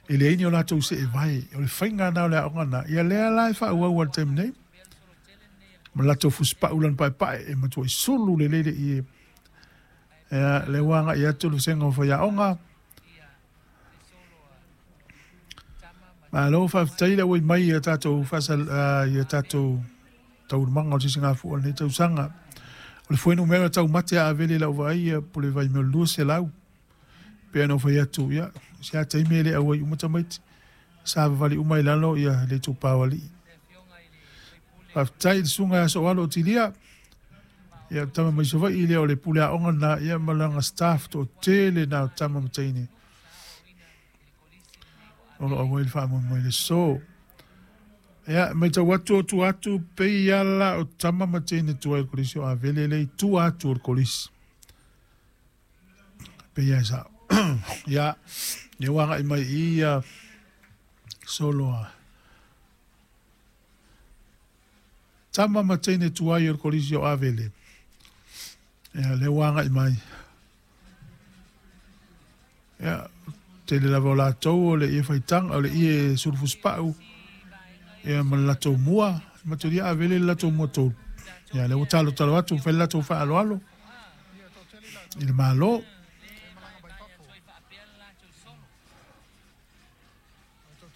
E leai ni o latou seevae, o le faiga lena o le aoga lena, ia lea la e faaauau lava i le taimi nei. Ma latou fusipau lana paepae e matuai sulu lelei le ie. Ia, lea ua agai atu le vasega o faiaoga. Malo faafetai le auai mai i tatou faasal, i tatou taualumaga o le sisigafua o lenei tausaga. O le fuainumera taumate a Avele i lau vaai ia po o le vaimea o le 200. Pei ona ou fai atu, ia, se a taimi e le auai uma tamaiti. Savavali uma i lalo ia le itupa o alii. Faafetai i le susuga ia Sooalo Otilia, ia tama mai Savaii lea o le pule aoga lena, ia ma lana staff toatele na o tama ma teine. O lo o auai le faamoemoe i le aso. Ia, matau atu o tua atu pei ala o tama ma teine tuai o le Kolisi o Avele le i tua atu o le Kolisi. Pei e sao. Ia, lea ua agai mai i ia solo a tama ma teine tuai o le Kolisi o Avele. Ia, lea ua agai mai. Ia, tele lava o latou o le ie faitaga, o le ie sulufusupau, ia ma le latou mua, matulia Avele le latou mua tolu. Ia, lea ua talotalo atu, fai le latou faaaloalo i le Malo.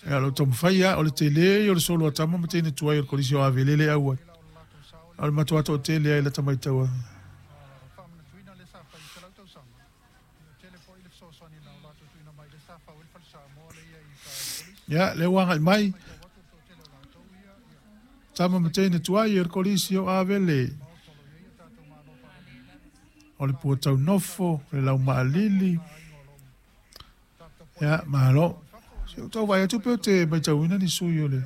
Ia, o lo o taumafai lava, o le tele ia o le solo a tama ma teine tuai o le Kolisi o Avele le auai. O le matua toatele lava i lata matau a. Ia, lea ua agai mai. Tama ma teine tuai o le Kolisi o Avele. O le pua taunofo, le laumaalili. Ia, malo. Se ou tau vaai atu pe ou te matauina ni sui o le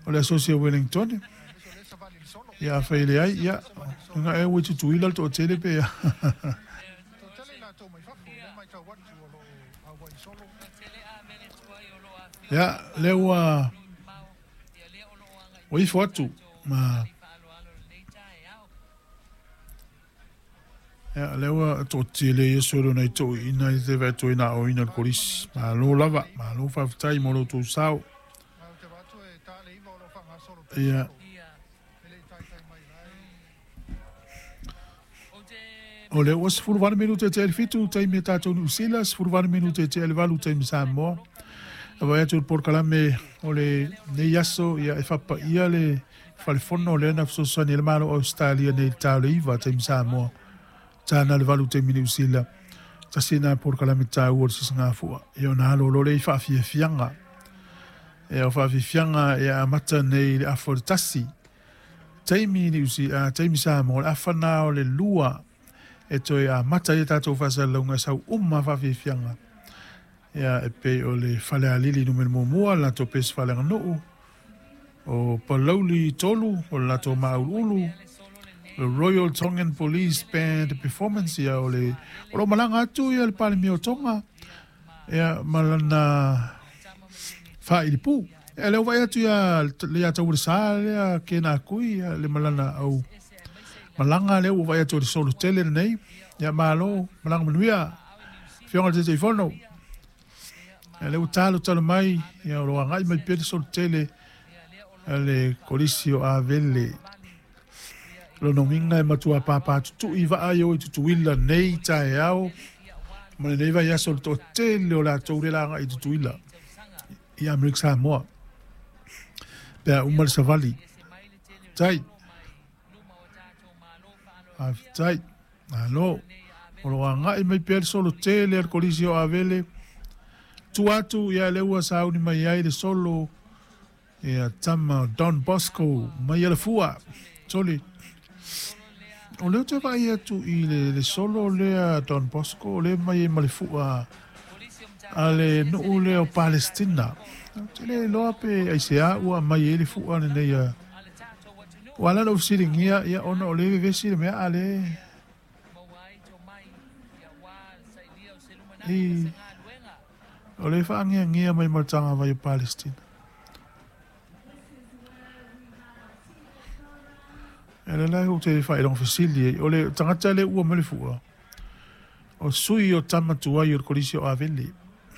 o le Asosi o Wellington. Ia, afai e leai, ia, nga e ua i Tutuila le toatele pe a. Ia, lea ua ua ifo atu ma Ia, lea ua toatele ia solo nai toeaiina i te vaai na aoina le kolisi. Malo lava, malo faafetai mo lo outou sao. Ia. O lea ua 18 minute e tea i le 7 taimi a tatou Niu Sila, 18 minute e tea i le 8 taimi Samoa. E vaai atu i le polokalame o lenei aso, ia e faapaia le falefono lea na fesoasoani ai le Malo o Ausetalia nei i le ta o le 9 taimi Samoa, ta na le 8 taimi Niu Sila. Tasi lena polokalame taua o le sisigafua. Ia ona alo loa lea i faafiafiaga. Ia o faafiafiaga e amata nei i le afa o le 1 taimi Niu Sila, taimi Samoa, o le afa na o le 2 e toe amata ai a tatou faasalalauga e sau uma faafiafiaga. Ia e pei o le Falealili numera muamua, le latou pese faaleaganuu, o Palauli 3, o le latou Māuluulu, le Royal Tongan Police Band Performance, ia o le o lo o malaga atu ia le Palemia o Tonga, ia ma lana faailipu. Ia lea ua vaai atu ia le Taualesa lea kēnā kui ia le malana au malaga lea ua vaai atu o le solo tele lenei. Ia malo, malaga manuia. Afioga i le Taitaifono. Ia lea ua talotalo mai, ia o lo o agai mai pea le solo tele a le Kolisi o Avele. Lona uiga e matua pāpātutui vaa i o i Tutuila nei taeao ma lenei vaiaso le toatele o latou lea la agai i Tutuila i Amerika Samoa pe a uma le savali. Tai. Faafetai. Malo. O lo o agai mai pea le solo tele a le Kolisi o Avele. Tua atu, ia lea ua sauni mai ai le solo ia tama o Don Bosco mai Alafua. Soli. O lea ou te vaai atu i le, le solo lea Don Bosco, o lea mai ai ma le fua a le nuu lea o Palestina. Ou te le iloa pe aisea ua aumai ai le fua lenei a Ua ala ona ou fesiligia, ia, ona o lea e vevesi le mea, a le i, o lea e faagiagia mai ma le tagavai o Palestina. Ia, lea la ou te faailoga fesili ai, o le tagata lea ua mai le fua, o sui o tama tuai o le Kolisi o Avele.